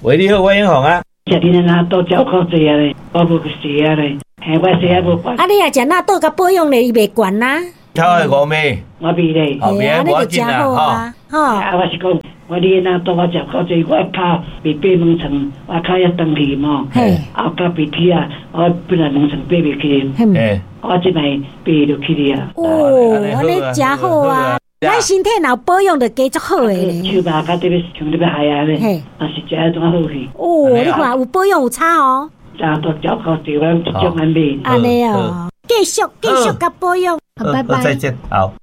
喂，你好，我永紅啊。食恁的納豆食夠濟啊咧，我無食啊咧，嘿，我食啊無慣。啊，你若食納豆佮保養咧，伊袂懸啊。頭愛五味。我袂咧。後邊無要緊啦，吼。啊，我是講，我你的納豆我食夠濟，我跤袂爬兩層，我跤遐長去嘛。嘿。啊，較袂起啊，我本來兩層爬袂起。嘿。我這擺爬就起去啊。哦，按呢誠好啊！咱身體若有保養，就加足好的咧。手肉較特別像特別害啊咧，也是食得怎好去。哦，你看有保養有差哦。食都食夠濟，我一種按買。按呢哦，繼續繼續共保養。好，拜拜。再見，好。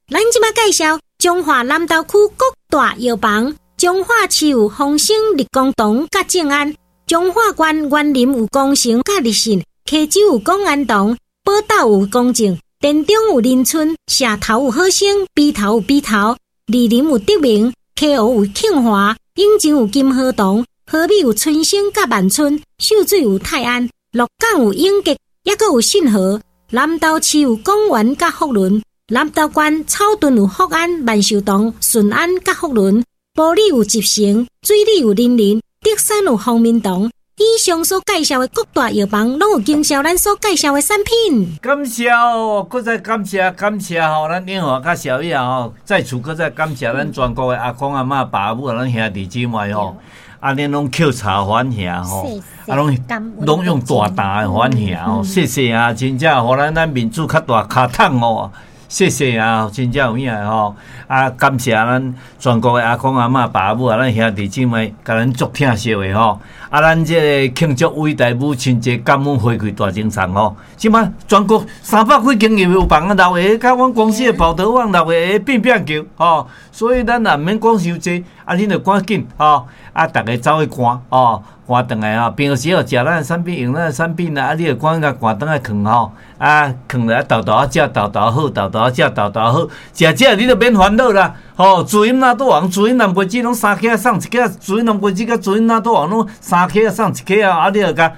咱這擺介紹彰化南投區各大藥房，彰化市有豐盛、立功堂佮正安，彰化縣員林有光成佮立信，溪州有廣安堂，寶斗有公正，田中有林村，社頭有好生，陂頭有陂頭，二林有德明，溪湖有慶華，永靖有金河堂，和美有春生佮萬春，秀水有泰安，鹿港有永吉，抑閣有信和，南投市有廣元佮福倫，南投縣草屯有福安、萬壽堂、順安佮福倫，埔里有集成，水里有林林，竹山有方明堂。以上所介紹的各大藥房，攏有經銷咱所介紹的產品。感謝哦，閣再感謝感謝吼，咱永華佮小葉吼，在此閣再感謝咱全國的阿公阿嬤、爸母啊，咱兄弟姊妹吼，按呢攏抾柴反兄吼，啊攏攏用大膽的反兄吼，謝謝啊，真正予咱咱面子較大跤桶哦。謝謝啊，真正有影的吼！啊，感謝咱全國的阿公阿嬤、爸母啊，咱兄弟姊妹，共咱足疼惜的吼。啊，咱這個慶祝偉大母親節感恩回饋大贈送吼。這擺全國300幾間藥房啊，六个，佮阮公司的寶德旺六个變變球吼。所以咱也毋免講傷濟，啊，恁就趕緊吼，啊，逐家走去趕吼，趕轉來吼。平常時哦，食咱的產品，用咱的產品啊，啊，你就趕緊共趕轉來囥吼，啊，囥來沓沓仔食，沓沓好，沓沓食，沓沓好，食食你就免煩惱啦。吼，滋陰納豆王，滋陰南瓜子攏三克送一克，滋陰南瓜子佮滋陰納豆王攏三克送一克啊，啊，你就共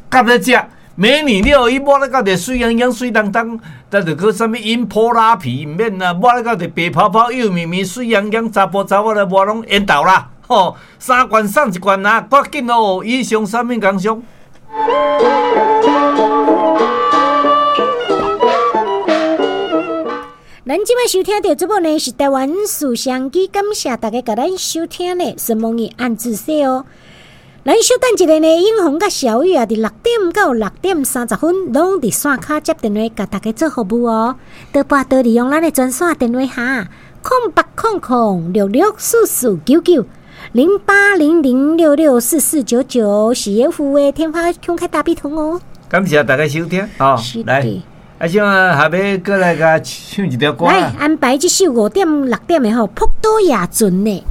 夾咧食。美女了，伊抹咧到底水漾漾、水當當，咱就閣啥物飲普拉皮毋免啦，抹咧到底白泡泡、幼綿綿、水漾漾，查埔查某來抹攏緣投啦。吼，三罐送一罐啊，趕緊哦！以上產品工商。咱這擺收聽著節目呢，是台灣事商機，感謝大家共咱收聽呢，承蒙你按自說哦。咱小等一下呢，永紅佮小雨啊，佇6點到6點30分，攏佇線跤接電話，共大家做服務哦。多撥多利用咱的專線電話哈，0800664499，0800664499是業務的天發空開大筆通哦。感謝大家收聽，哦，來。啊，像啊，下欲閣來共唱一條歌。來安排這首5點6點的吼，噗多亞船呢。